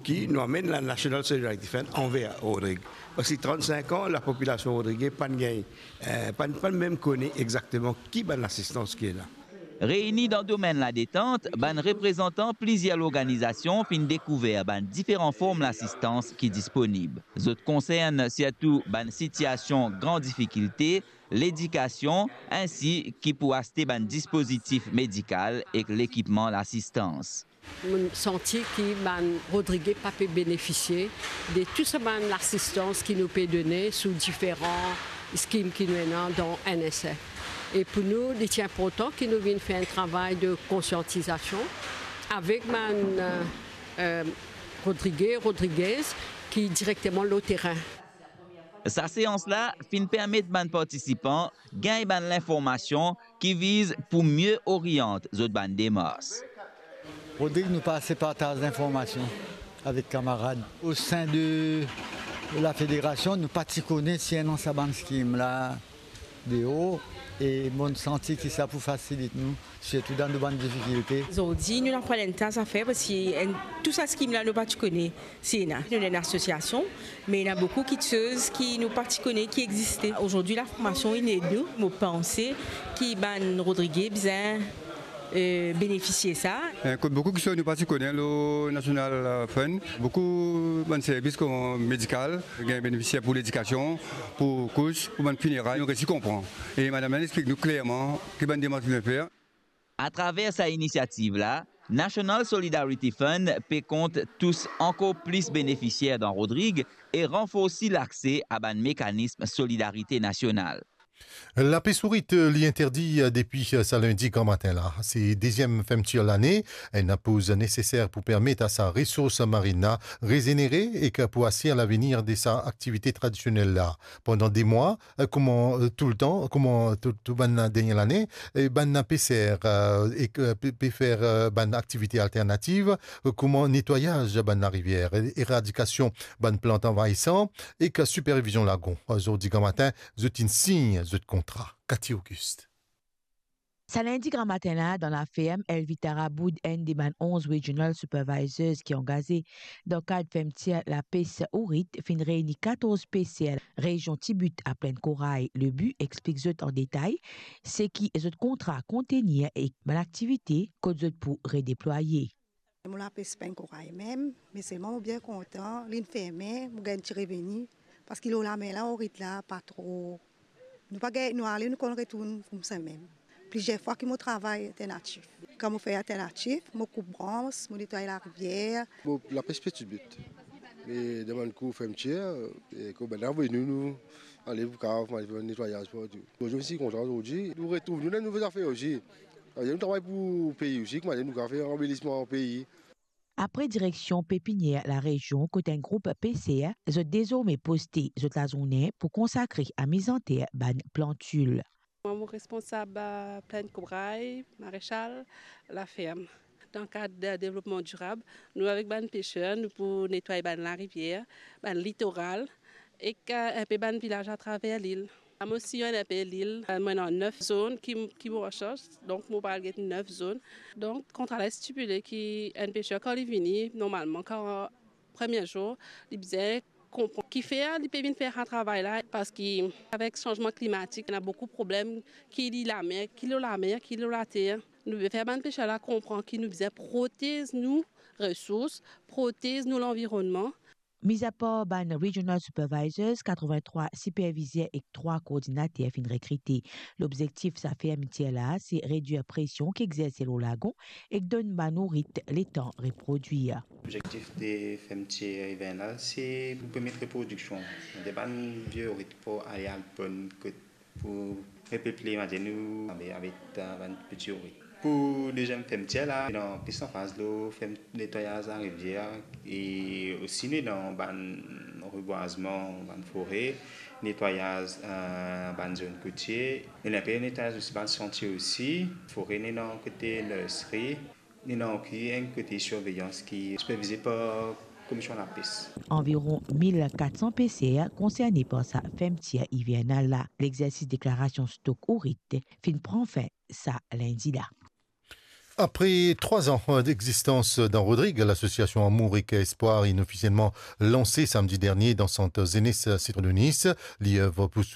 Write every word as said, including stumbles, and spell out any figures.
ki nou amenn la National Solidarity Fund anver Rodrig. Parski trant-sink an, lapopilasion rodrige pa'nn gagn, eh, pa'nn, pa'nn mem kone exakteman ki bann lasistans ki ena. Reini dan domenn ladetant, bann reprezantan plizier lorganizasion finn dekouver bann diferan form lasistans ki disponib. Zot konsern sirtou bann sitiasion gran difikilte, ledikasion, insi ki pou aste bann dispozitif medikal ek lekipman lasistans. Mo santi ki bann rodrige pa pe benefisie de tou sa bann lasistans ki nou pe done sou diferan skim ki nou ena dan N S F. E pou nou, li ti inportan ki nou vinn fer enn travay de konsiantizasion avek bann, eh, eh, rodrige, rodrigez ki direkteman lor terin. Sa seans la finn permet bann partisipan gagn bann linformasion ki viz pou mie oriant zot bann demars. Rodrig, nou pa ase partaz linformasion avek kamarad. O sein de lafederasion, nou pa ti kone si ena sa bann skim la deor, e mo santi ki sa pou fasilit nou, sirtou dan nou bann difikilte. Zordi, nou aprann enn ta zafer, parski enn, tou sa skim la, nou pa ti kone si ena. Nou ena enn asosiasion, me ena boukou kiksoz ki nou pa ti kone ki existe. Zordi, laformasion inn ed nou. Mo panse ki bann rodrige bizin, eh, benefisie sa. Eh, kot boukou kiksoz nou pa ti kone lor National, eh, Fund. Boukou bann servis kouma medikal, gagn benefisie pou ledikasion, pou kous, pou bann fineray, nou resi konpran. E madam la inn explik nou klerman ki bann demars nou fer. Atraver sa inisiativ la, National Solidarity Fund pe kont tous ankor plis benefisier dan Rodrig e ranforsi lakse a bann mekanism solidarite nasional. Lapes ourit, eh, li interdi, eh, depi, eh, sa lindi gramatin la. Se deziem fermtir lane, enn poz neseser pou permet a sa resours marin la rezenere ek pou asir lavenir de sa aktivite tradisionel la. Pandan de mwa, eh, kouma, eh, toultan, kouma tou, tou bann dernie lane, eh, bann peser, eh, ek, eh, pe, pe fer, eh, bann aktivite alternativ, eh, kouma netwayaz bann larivier, eh, eradikasion bann plant anvayisan ek sipervizion lagon. Zordi gramatin, zot inn sign zot kontra. Cathy Auguste. Sa lindi gramatin la, dan laferm, Elvita Raboud, enn de bann onz regional supervisors ki angaze dan kad fermtir lapes ourit, finn reini katorz peser rezion Tibit a Plinn Koray. Lebi, explik zot an detay seki zot kontra kontenir ek bann aktivite kot zot pou redeplwaye. Mo lapes Plinn Koray mem, me selman mo bien kontan, linn ferme, mo gagn ti reveni, parski lor lamer la, ourit la, pa tro, nou pa gagn, nou ale, nou konn retourn koumsa mem. Plizier fwa ki mo travay alternatif. Kan mo fer alternatif, mo koup brans, mo netway larivier. Mo lapes pe ti bout. Me dan bann kou fermtir, e kan bann la vini, nou, nou ale pou kav, nou ale fer netwayaz partou. Zordi, mo ti kontan zordi. Nou retrouv nou dan nouvo zafer osi. Savedir nou travay pou pei osi, kouma nou kav fer anbelisman pei. Apre direksion pepinier larezion kot enn group peser, zot dezorme poste zot lazourne pou konsakre a mizanter bann plantil. Mwa, mo responsab, eh, Plinn Koray, Marechal, laferm. Dan kad, eh, devlopman dirab, nou avek bann peser, nou pou netway bann larivier, bann litoral, ek, eh, inpe bann vilaz atraver lil. Mo siy enn inpe lil, eh, mo ena nef zone ki, ki mo ansarz, donk mo pral get nef zone. Donk, kontra la stipile ki enn peser, kan li vini, normalman, kan premie zour, li bizin konpran kifer li pe vinn fer sa travay la, parski avek sanzman klimatik, ena boukou problem, ki li lamer, ki lor lamer, ki lor later. Nou bizin fer bann peser la konpran ki nou bizin protez nou resours, protez nou lanvironnman. Mizapar bann regional supervisors, katrevintrwa sipervizer ek trwa koordinater finn rekrite. Lobzektif sa fermitir la, se redwir presion ki exerse lor lagon ek donn bann ourit letan reprodwir. Lobzektif de fermitir ivernal, se pou permet reprodiksion de bann vie ourit pou ale al ponn kot pou repeple, mwa dir nou, avek, avek, eh, bann piti ourit. Pou deziem fermitir la, ena plis lanfaz lor ferm-, netwayaz larivier e osi nou ena bann rebwazman, bann fore, netwayaz, eh, bann zone kotie. Nou ena pe netwayaz osi bann santie osi, fore nou ena kote nursery. Li ena osi enn kote sirveyans ki sipervize par Komision Lapes. Anviron mil kat san peser konserne par sa fermitir ivernal la. Lexersis deklarasion stok ourit finn pran fin sa lindi la. Apre trwa an d'existans dan Rodrig, lasosiasion Amour ek Espwar inn ofisielman lanse samdi dernie dan Sant Zenes Sitron de Nis. Li ev pou